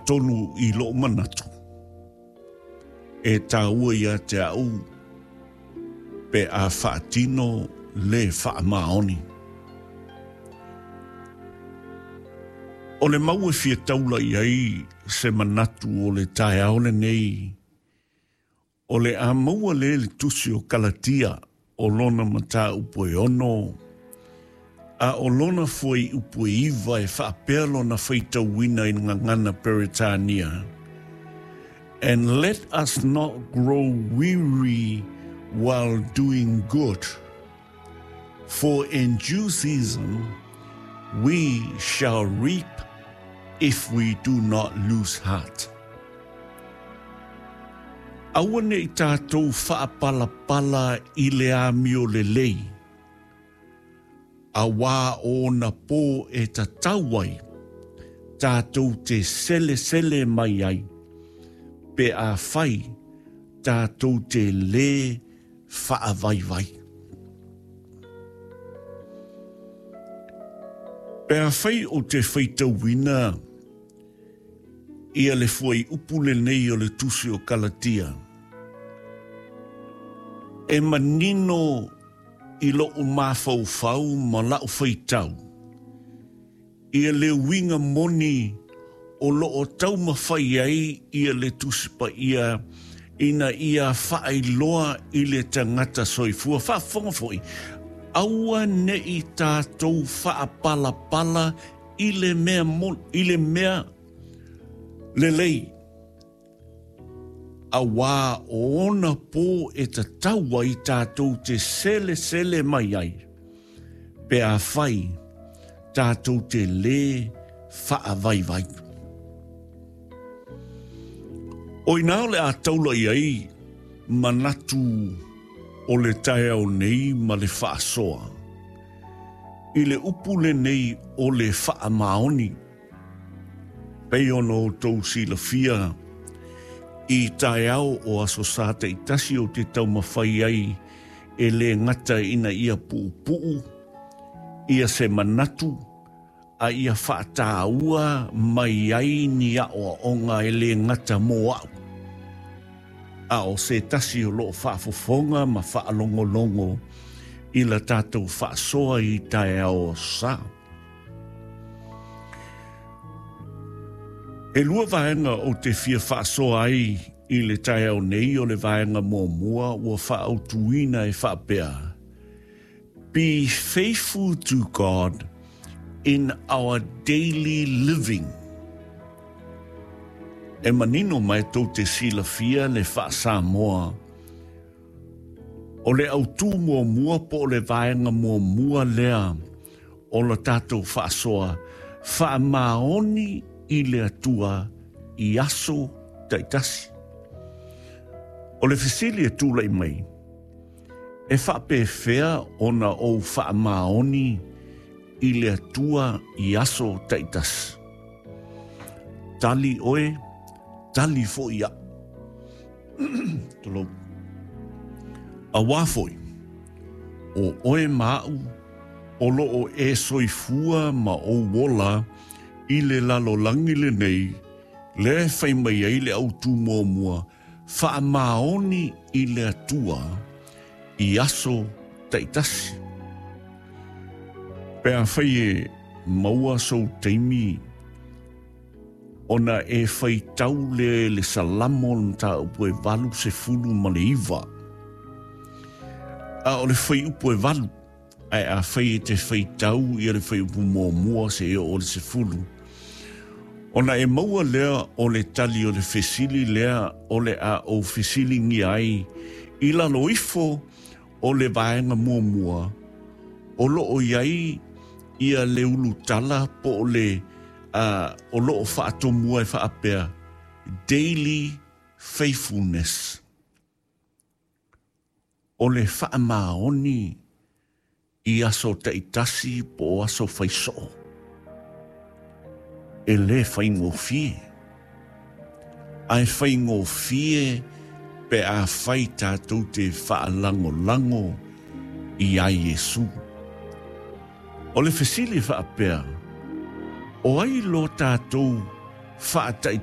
Atonu i lo'u manatu, e taua ia te a'u pe a faatino le faamaoni. O le mau e fia taula i ai se manatu o le taeao lenei, o le a maua lea i le Tusi o Kalatia o lona mataupu e 6, a o lona fuaiupu e 9 e faapea lona faitauina i le gagana Peretania, And let us not grow weary while doing good, for in due season we shall reap if we do not lose heart. Aua ne i tātou faapalapala i le amio lelei, auā o ona pō e tatau ai tātou te selesele mai ai, pe afai tātou te lē faavaivai. Pe afai o te faitauina ia le fuaiupu lenei o le Tusi o Kalatia, e manino i loʻu mafaufau ma laʻu faitau, ia le uiga moni o loo taumafai ai ia le Tusi Paia ina ia faailoa i le tagata soifua. Faafofoga foi, aua ne i tatou faapalapala i le mea, i le mea lelei, auā o ona pō e tatau ai tatou te selesele mai ai, pe afai tatou te lē faavaivai. O inā o le a taula i ai manatu o le taeao nei ma le faasoa i le upu lenei o le faamaoni. Pei ona outou silafia, i taeao o Aso Sa taitasi ou te taumafai ai e lē gata ina ia puupuu ia se manatu a ia faataua mai ai ni aʻoaʻoga e lē gata mō aʻu, a o se tasi o loo faafofoga ma faalogologo i la tatou faasoa i taeao o Aso Sa. E lua vaega ou te fia faasoa ai i le taeao nei, o le vaega muamua ua faaautuina e faapea, Be faithful to God in our daily living. E manino mai tou te silafia le faa-Samoa, o le autū muamua po o le vaega muamua lea o la tatou faasoa faamaoni i le Atua i aso taitasi. O le fesili e tulai mai, e faapefea ona ou faamaoni i le Atua i aso taitasi? Tali oe, tali foi aʻu. Tulou. Auā foi, o oe ma aʻu, o loo e soifua ma ou ola i le lalolagi lenei, lea e fai mai ai le autū muamua, faamaoni i le Atua i aso taitasi. Pe afai e maua sou taimi, Ona e faitau lea i le Salamo o le mataupu e 89. A o le fuaiupu e 8, ae afai e te faitau ia le fuaiupu muamua seia oo i le 10, ona e maua lea o le tali o le fesili lea o le a ou fesiligia ai i lalo ifo o le vaega muamua o loo i ai ia le ulutala po o le o loo faatomua e faapea, daily faithfulness, o le faamaoni i aso taitasi po o aso faisoo. E lē faigofie, ae faigofie pe afai tatou te faalagolago iā Iesu. O le fesili e faapea, o ai lo tatou faataitai?